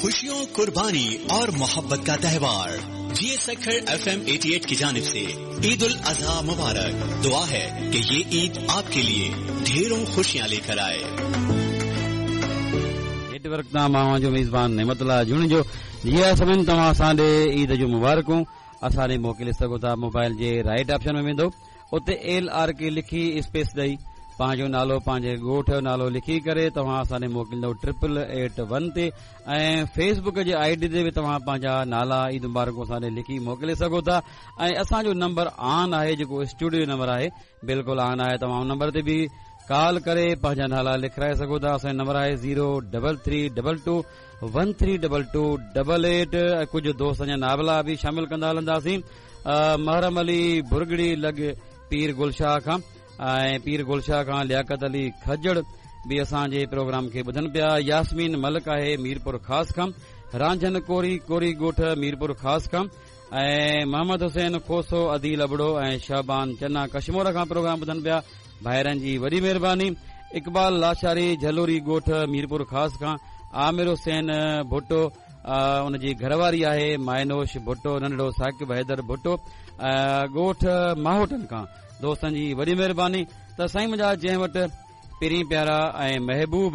खुशियों, कुर्बानी और मोहब्बत का त्योहार। जी सखर एफएम 88 की जानिब से ईद उल अजहा मुबारक। दुआ है कि ये ईद आपके लिए ढेरों खुशियां लेकर आए। नेटवर्क तां मान अव्हां जो मेज़बान नेमतुल्ला जुणेजो। जी हा सभिनि, तव्हां असां ॾे ईद जूं मुबारकूं असां ॾे मोकिले सघो था। मोबाइल जे राइट ऑप्शन में वेंदो, उते एल आर के लिखी स्पेस ॾेई पंहिंजो नालो, पंहिंजे ॻोठ जो नालो लिखी करे तव्हां असां ॾे मोकिलींदो 888 881 ते। ऐं फेसबुक जे I D ते बि तव्हां पंहिंजा नाला, ईद मुबारकूं असां ॾे लिखी मोकिले सघो था। ऐं असांजो नंबर ऑन आहे, जेको स्टूडियो नंबर आहे, बिल्कुलु ऑन आहे। तव्हां उन नंबर ते बि कॉल करे पंहिंजा नाला लिखाए सघो था। असांजो नंबर आहे 033222132288। ऐं कुझु दोस्तनि जा नाला बि शामिल कंदा हलंदासीं। महरम अली बुरगड़ी लॻ पीर गुलशाह खां ऐं पीर गुलशाह खां लियाकत अली खजड़ बि असांजे प्रोग्राम खे ॿुधनि पिया। यास्मीन मलिक आहे मीरपुर ख़ास खां, रांझन कोरी, कोरी ॻोठ मीरपुर ख़ास खां ऐं मोहम्मद हुसैन खोसो, अदील अबड़ो ऐं शहबान चन्ना कश्मोर खां प्रोग्राम ॿुधनि पिया। भाइरनि जी वॾी महिरबानी। इक़बाल लाशारी झलोरी ॻोठ मीरपुर ख़ास खां, आमिर हुसैन भुट्टो, उनजी घरवारी आहे मायनोश भुट्टो, नंढड़ो साकिब हैदर भुट्टो, ॻोठ माहोटनि खां। दोस्तनि जी वॾी महिरबानी। त साईं मुंहिंजा, जंहिं वटि पहिरीं प्यारा ऐं महबूब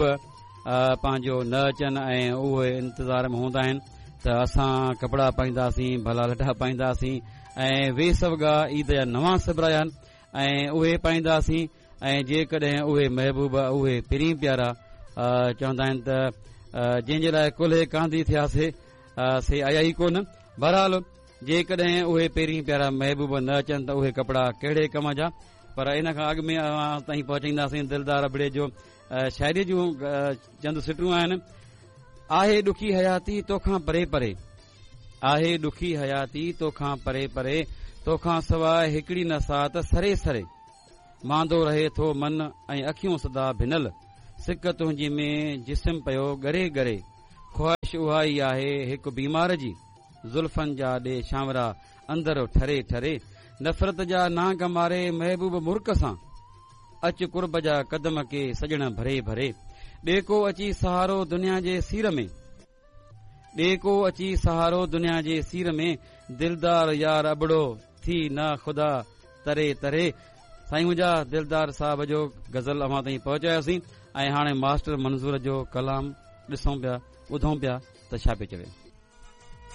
पंहिंजो न अचनि ऐं उहे इंतज़ार में हूंदा आहिनि त असां कपिड़ा पाईंदासीं, भला लटा पाईंदासीं ऐं वेस वॻा ईद जा नवां सिबराया आहिनि ऐं उहे पाईंदासीं। ऐं जेकॾहिं उहे महबूब, उहे पहिरीं प्यारा चवंदा आहिनि त जंहिंजे लाइ कुल्हे कांधी थियासीं, से आया ई कोन। बहरहाल, जेकॾहिं उहे पहिरीं प्यारा महबूब न अचनि त उहे कपिड़ा कहिड़े कम जा। पर इन खां अॻु में अव्हां ताईं पहुचाईंदासीं दिलदार अबड़े जो शाइरी जूं चंद सिटूं आहिनि। आहे ॾुखी हयाती तोखां परे परे, आहे ॾुखी हयाती तोखां परे परे, तोखां सवाइ हिकिड़ी न साथ सरे सरे। मांदो रहे थो मन ऐं अखियूं सदा भिनल, सिक तुंहिंजी में जिस्म पियो ॻरे ॻरे। ख़्वाहिश उहा ई आहे हिकु बीमार जी, ज़ुल्फ़नि जा ॾे शांवरा अंदरि ठरे ठरे। नफ़रत जा नांग मारे महबूब मुर्क सां, अच कुर्ब जा कदम के सॼण भरे भरे। ॾे को अची सहारो दुनिया जे सीर में, ॾे को अची सहारो दुनिया जे सीर में, दिलदार यार अबड़ो थी न ख़ुदा तरे तरे। साईं मुंहिंजा, दिलदार साहब जो गज़ल अव्हां ताईं पहुचायोसीं ऐं हाणे मास्टर मंज़ूर जो कलाम ॾिसूं पिया, ॿुधूं पिया त छा पियो चवे।